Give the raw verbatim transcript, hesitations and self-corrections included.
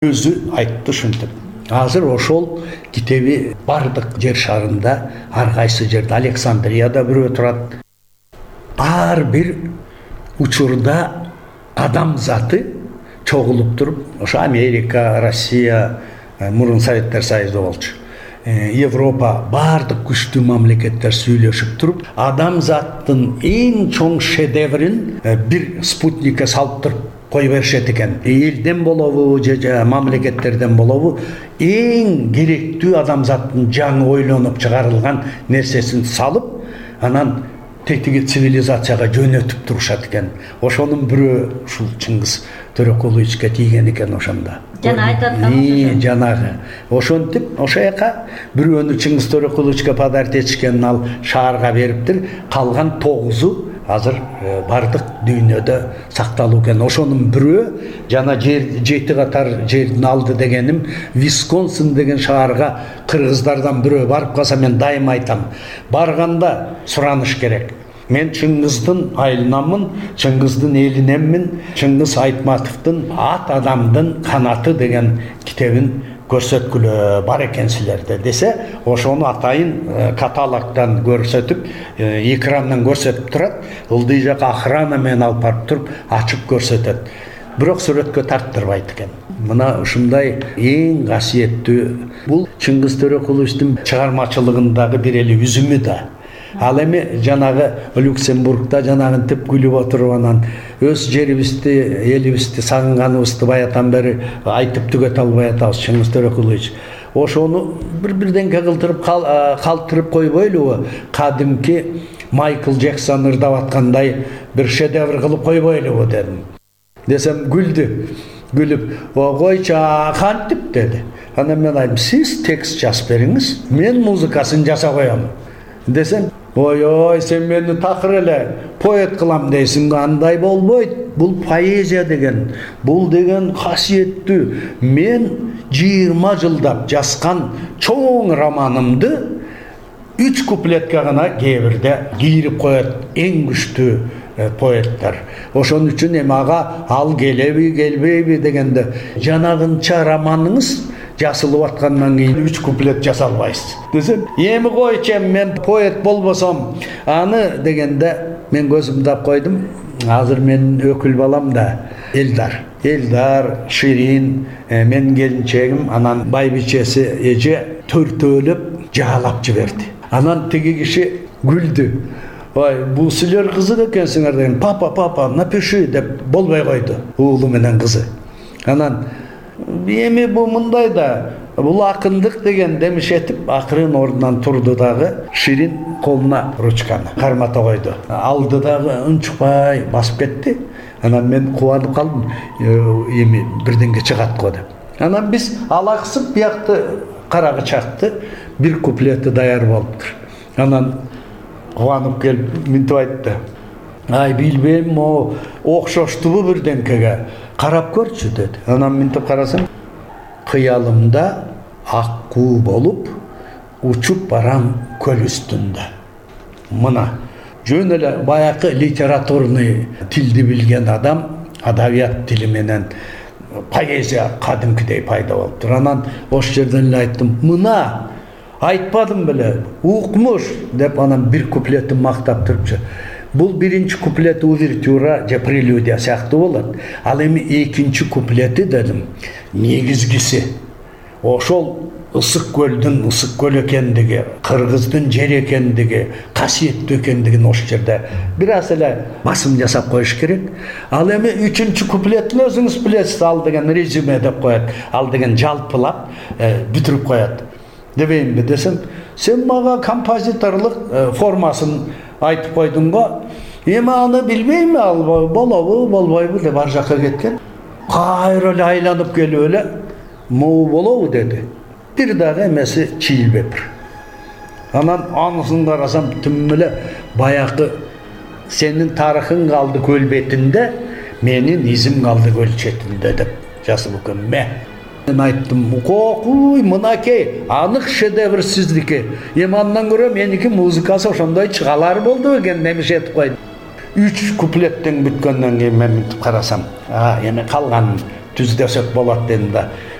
өзү айтты ушинтип. Азыр ошол китеби бардык жер шарында, ар кайсы жерде, Александрияда бирөө турат. Ар бир учурда адам заты чогулуп туруп, ошо Америка, Россия, мурун Советтер Союзу болчу. Европа, бардык күчтүү мамлекеттер сүйлөшүп туруп, адам заттын эң чоң шедеврин бир спутникке салып туруп кой беришет экен. Элден болобу, же мамлекеттерден болобу, эң керектүү адамзаттын жаңы ойлонуп чыгарылган нерсесин салып, анан тетиги цивилизацияга жөнөтүп турушат экен. Ошонун бирөө ушул Чыңгыз Төрөкуловичке тийген экен ошондо. Жана айтат ошо. Жанагы. Ошентип, ошо жака бирөөнү Чыңгыз Төрөкуловичке подарить этишкен, ал шаарга бериптир. Калган тогузу азыр бардык дүйнөдө сакталуу экен. Ошонун бирөө жана жер жети катар жердин алды дегеним Висконсин деген шаарга кыргыздардан бирөө барып калса, мен дайыма айтам, барганда сураныш керек. Мен Чыңгыздын айылынамын, Чыңгыздын элинеммин, Чыңгыз Айтматовдун Ат адамдын канаты деген китебин көрсөткүлө бар экенсилерде десе, ошону атайын каталогдон көрсөтүп, экрандан көрсөтүп турат. Ылдый жака охрана менен алып барып туруп, ачып көрсөтөт. Бирок сүрөткө тарттырбайт экен. Мына ушундай эң касиеттүү, бул Чыңгыз Төрөкуловичтин чыгармачылыгындагы бир эле үзүмү да. Ал эми жанагы Люксембургда жанагынтип күлүп отуруп, анан өз жерибизди, элибизди сагынганыбызды баятан бери айтып түгөтө албай атабыз. Чыңгыз Төрөкулович ошону бир-бирденке кылдырып калтырып койбойлубу? Кадимки Майкл Джексон ырдап аткандай бир шедевр кылып койбойлубу дедим. Десем күлдү. Күлүп, "Койчу, кантип?" деди. Анан мен айттым, "Сиз текст жазып бериңиз, мен музыкасын жасап коем." Десем, "Ой-ой, сен мени такыр эле поэт кылам дейсиң, андай болбойт. Бул поэзия деген, бул деген касиеттүү. Мен жыйырма жылдап жазган чоң романымды үч куплетке гана кээ бирде кийирип коет эң күчтүү поэттер. Ошон үчүн эми ага ал келеби, келбейби дегенде, жанагынча романыңыз жасылып аткандан кийин үч куплет жасалбайсыз." Десем, "Эми койчу, мен поэт болбосом, аны" дегенде мен көзүмдү ап койдум. Азыр менин өкүл балам да Элдар. Элдар, Ширин, мен келинчегим, анан байбичеси эже төртөөлөп жаалап жиберди. Анан тиги киши күлдү. "Ой, бул силер кызык экенсиңер" деген. "Папа, папа, напиши" деп болбой койду уулу менен кызы. Анан эми бул мындай да, бул акындык деген демишетип, акырын ордунан турду дагы, Ширин колуна ручканы кармата койду. Алды дагы унчукпай басып кетти. Анан мен кубанып калдым, эми бирденге чыгат го деп. Анан биз алаксып биякты карагы чакты, бир куплети даяр болуптур. Анан кубанып келип мынтип айтты: "Ай, билбейм, о окшоштубу бирденкеге? Карап көрчү" деди. Анан мынтип карасам, "Кыялымда ак куу болуп, учуп барам көл үстүндө." Мына жөн эле баякы литературный тилди билген адам, адабият тили менен поэзия кадимкидей пайда болуптур. Анан ошол жерден эле айттым, "Мына айтпадым беле, укмуш" деп, анан бир куплетин мактап турупчу. Бул биринчи куплети увертюра же прелюдия сыяктуу болот. Ал эми экинчи куплети дедим, негизгиси. Ошол ысык көлдүн ысык көл экендиги, кыргыздын жер экендиги, касиеттүү экендигин ошол жерде бир аз эле басым жасап коюш керек. Ал эми үчүнчү куплетин өзүңүз билесиз, ал деген резюме деп коет. Ал деген жалпылап бүтүрүп коет. Дебейинби десем, "Сен мага композиторлук формасын айтып койдуң го. Эми аны билбейм, ал болобу, болбойбу" деп ар жакка кеткен. Кайра эле айланып келип эле, "Могу болобу" деди. Бир дагы эмеси чийилбептир. Анан анысын карасам, түм эле баякы "Сенин тарыхың калды көл бетинде, менин изим калды көл четинде" деп жазылып экен. Мен айттым, "Кокуй, мынакей, анык шедевр сиздики. Эми андан көрө меники музыкасы ошондой чыгалар болду экен" демишет койду. Үч куплеттен бүткөндөн кийин мен мынтип карасам, а эми калган түздесек болот дедим да.